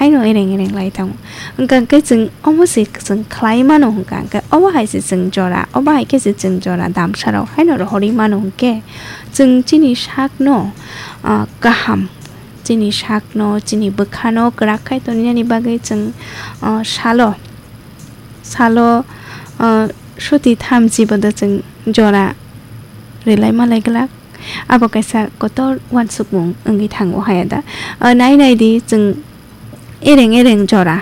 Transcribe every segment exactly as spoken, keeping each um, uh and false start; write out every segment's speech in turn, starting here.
Haino ereng ereng lai tongo. Hwnkha hwnkhe chwng omo se chwng khlai mano hwnkha hwnkhe obo hai se chwng jora, obo hai khe se chwng jora damsarok haino rohorwi mano hwnkhe chwng chini sakno, ah, kaham, chini sakno, chini bwkhano kwrak khai toninani bagwi chwng, ah, salo, salo, ah, suti thamchi bodo chwng jora rwlai malai glak. Abo kaisa kotor uansukmung wngwi thango haya da. Ah, nai nai di chwng ereng ereng jora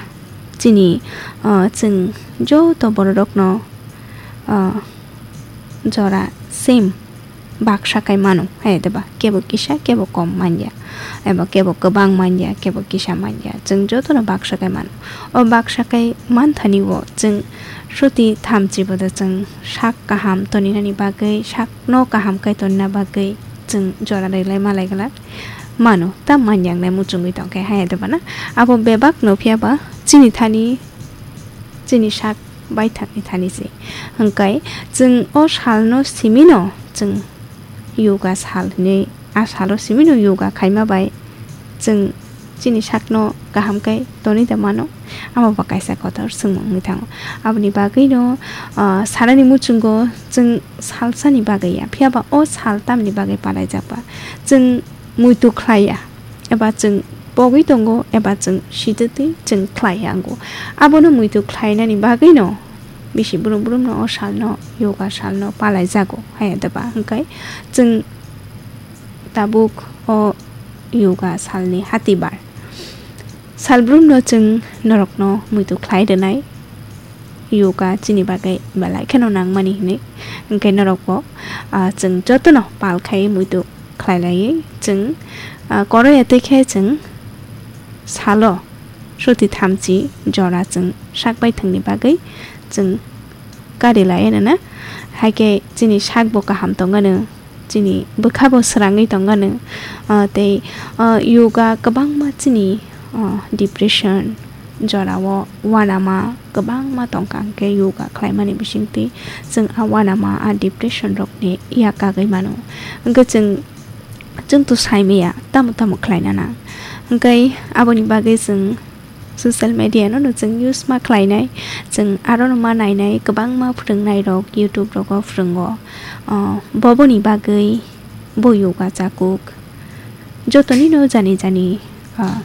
chini, ah, chwng joto bororokno, ah, jora same baksa kai mano haya da ba, kebo kisa kebo kom manya eba kebo kwbang manya kebo kisa manya chwng jotono baksa kai mano. O baksa kai manthani o chwng suti thamchi bodo chwng sak kaham toninani bagwi sakno kaham kai tonina bagwi chwng jora rwlai malai glak. Mano, ta manjaknai muchungwi tongkhe haya de bana. Abo bebak no phiya ba chini thani, chini sak baithakni thani se. Hwnkhe chwng o salno simino chwng yoga sal hinwi, a salo simino yoga khaima bai chwng chini sakno kaham khe tonwi da mano. Amo bo kaisa kotor swngmung wngwi thango. Aboni bagwino, ah, sanani muchungo chwng salsani bagwi ya, phiya ba o sal tamni bagwi palaijak ba? Chwng muitu khlai ya, eba chwng pogwi tongo, eba chwng sitwtwi chwng khlai ya wngo. Abono muitu khlainani bagwino bisi brum brumno o salno, yoga salno palaijago, haya da ba? Hwnkhe chwng tabuk o yoga salni hatibar. Salbrumno chwng norokno muitu khlai rwnai. Yoga chini bagwi belai kheno nangmani hinwi. Hwnkhe norokbo, ah, chwng jotono pal khai muitu khlai laiwi chwng, ah, koroya twi khe chwng salo suti thamchi jora chwng sak baithangni bagwi chwng kari lai rwna. Hai khe chini sakbo kaham tongmano, chini bwkha bo swrangwi tongmano, ah, tei, ah, yoga kwbangma chini, ah, depression jorao uanama kwbangma tongkha, hwnkhe yoga khlaimani bisingtwi chwng a uanama, a depression rokni yak kagwi mano. Hwnkhe chwng, chwng to saimaya tamo tamo khlaina nang. Hwnkhe aboni bagwi chwng social media no, no chwng use ma khlainai, chwng aro no ma nainai, kwbangma phwrwngnairok YouTube rogo phwrwngo. Ah, boboni bagwi bo yoga chakuk. Jotoni no jani jani, ah,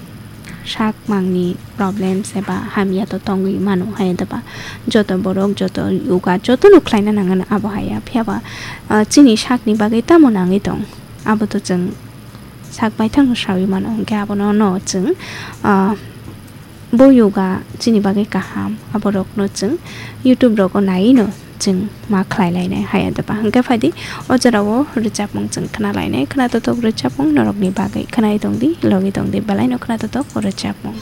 sak mangni problems eba hamya to tongwi mano hai da ba. Joto borok, joto yoga, joto no khlaina nangano abo haya. Phiya ba, ah, chini sakni bagwi tamo nangwi tong, abo to chwng sak baithang no sawi mano, hwnkhe abono no chwng, ah, bo yoga chini bagwi kaham, aborokno chwng YouTube rogo naiwi no chwng ma khlai lainai haya da ba. Hwnkhe phaidi o jorao rwchapmung chwng khna lainai, khna totok rwchapmung norokni bagwi khnawi tongdi, logi tongdi, belai no khna totok rwchapmung.